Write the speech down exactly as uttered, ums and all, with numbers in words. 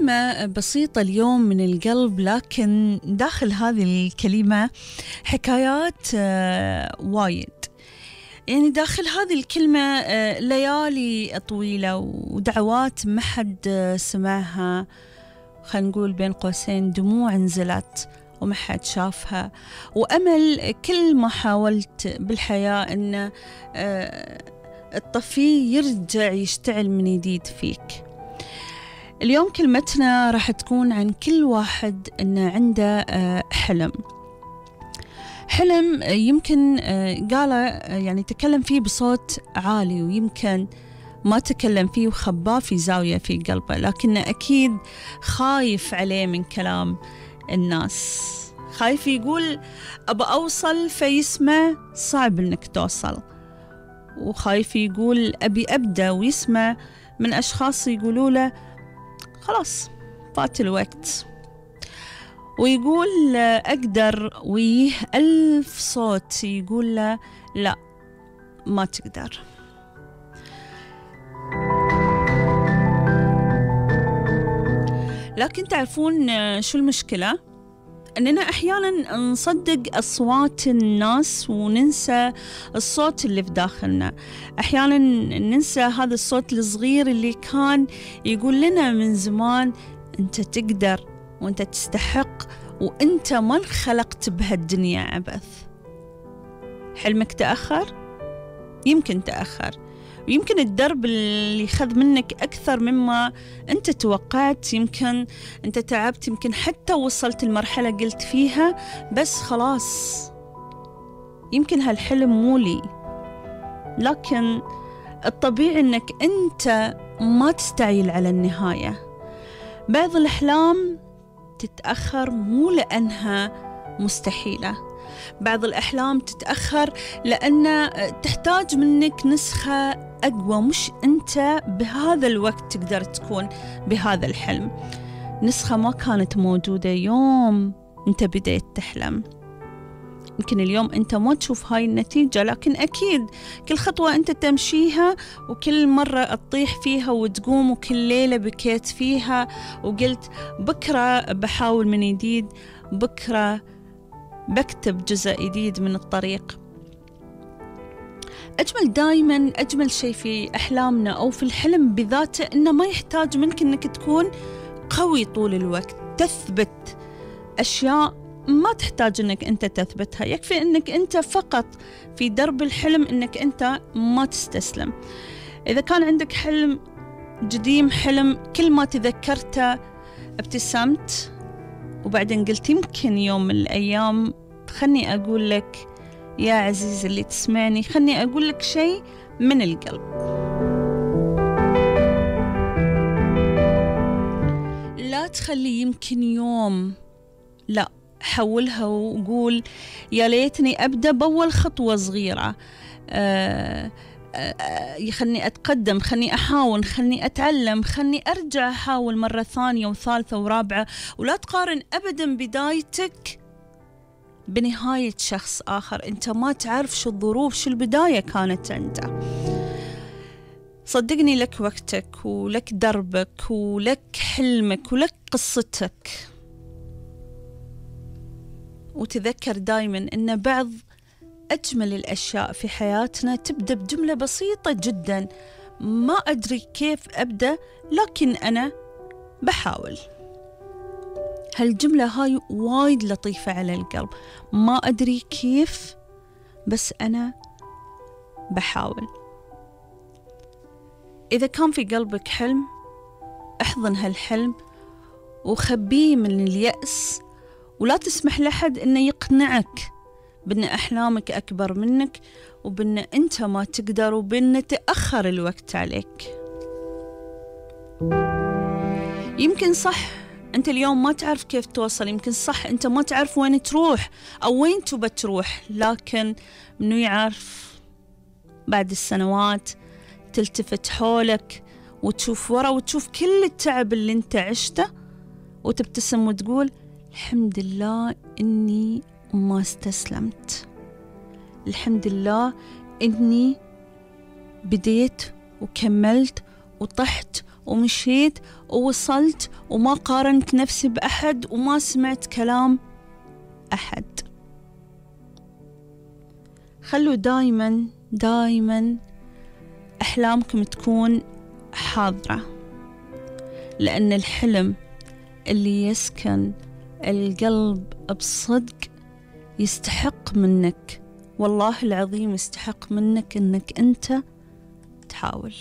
كلمة بسيطة اليوم من القلب، لكن داخل هذه الكلمة حكايات وايد. يعني داخل هذه الكلمة ليالي طويلة ودعوات ما حد سمعها، خلينا نقول بين قوسين دموع نزلت وما حد شافها، وأمل كل ما حاولت بالحياة أن الطفي يرجع يشتعل من جديد فيك. اليوم كلمتنا راح تكون عن كل واحد أنه عنده حلم حلم يمكن قاله يعني تكلم فيه بصوت عالي، ويمكن ما تكلم فيه وخباه في زاوية في قلبه، لكنه أكيد خايف عليه من كلام الناس، خايف يقول أبى أوصل فيسمع صعب إنك توصل، وخايف يقول أبي أبدأ ويسمع من أشخاص يقولوا له خلاص فات الوقت، ويقول أقدر ويه ألف صوت يقول له لا ما تقدر. لكن تعرفون شو المشكلة؟ أننا أحيانا نصدق أصوات الناس وننسى الصوت اللي في داخلنا. أحيانا ننسى هذا الصوت الصغير اللي كان يقول لنا من زمان أنت تقدر وأنت تستحق وأنت ما انخلقت بهالدنيا عبث. حلمك تأخر؟ يمكن تأخر، ويمكن الدرب اللي خذ منك أكثر مما أنت توقعت، يمكن أنت تعبت، يمكن حتى وصلت المرحلة قلت فيها بس خلاص يمكن هالحلم مو لي. لكن الطبيعي أنك أنت ما تستعيل على النهاية. بعض الأحلام تتأخر مو لأنها مستحيلة، بعض الأحلام تتأخر لأن تحتاج منك نسخة أقوى، مش أنت بهذا الوقت تقدر تكون بهذا الحلم. نسخة ما كانت موجودة يوم أنت بديت تحلم. يمكن اليوم أنت ما تشوف هاي النتيجة، لكن أكيد كل خطوة أنت تمشيها وكل مرة تطيح فيها وتقوم، وكل ليلة بكيت فيها وقلت بكرة بحاول من جديد، بكرة بكتب جزء جديد من الطريق. أجمل دايما أجمل شيء في أحلامنا أو في الحلم بذاته إنه ما يحتاج منك إنك تكون قوي طول الوقت تثبت أشياء ما تحتاج إنك أنت تثبتها، يكفي إنك أنت فقط في درب الحلم إنك أنت ما تستسلم. إذا كان عندك حلم قديم، حلم كل ما تذكرته ابتسمت وبعدين قلت يمكن يوم من الأيام، خلني أقول لك يا عزيز اللي تسمعني، خلني أقول لك شيء من القلب. لا تخلي يمكن يوم، لا حولها وقول يا ليتني أبدأ بأول خطوة صغيرة، أه خلني أتقدم، خلني أحاول، خلني أتعلم، خلني أرجع أحاول مرة ثانية وثالثة ورابعة. ولا تقارن أبدا بدايتك بنهاية شخص آخر، أنت ما تعرف شو الظروف، شو البداية كانت عنده. صدقني لك وقتك ولك دربك ولك حلمك ولك قصتك. وتذكر دايما أن بعض أجمل الأشياء في حياتنا تبدأ بجملة بسيطة جدا، ما أدري كيف أبدأ لكن أنا بحاول. هالجملة هاي وايد لطيفة على القلب، ما أدري كيف بس أنا بحاول. إذا كان في قلبك حلم احضن هالحلم وخبيه من اليأس، ولا تسمح لحد إنه يقنعك بأن أحلامك أكبر منك وبأن أنت ما تقدر وبأن تأخر الوقت عليك. يمكن صح أنت اليوم ما تعرف كيف توصل، يمكن صح أنت ما تعرف وين تروح أو وين تبى تروح، لكن منو يعرف بعد السنوات تلتفت حولك وتشوف ورا وتشوف كل التعب اللي أنت عشته وتبتسم وتقول الحمد لله إني ما استسلمت، الحمد لله إني بديت وكملت وطحت ومشيت ووصلت وما قارنت نفسي بأحد وما سمعت كلام أحد. خلوا دايما دايما أحلامكم تكون حاضرة، لأن الحلم اللي يسكن القلب بصدق يستحق منك، والله العظيم يستحق منك أنك أنت تحاول.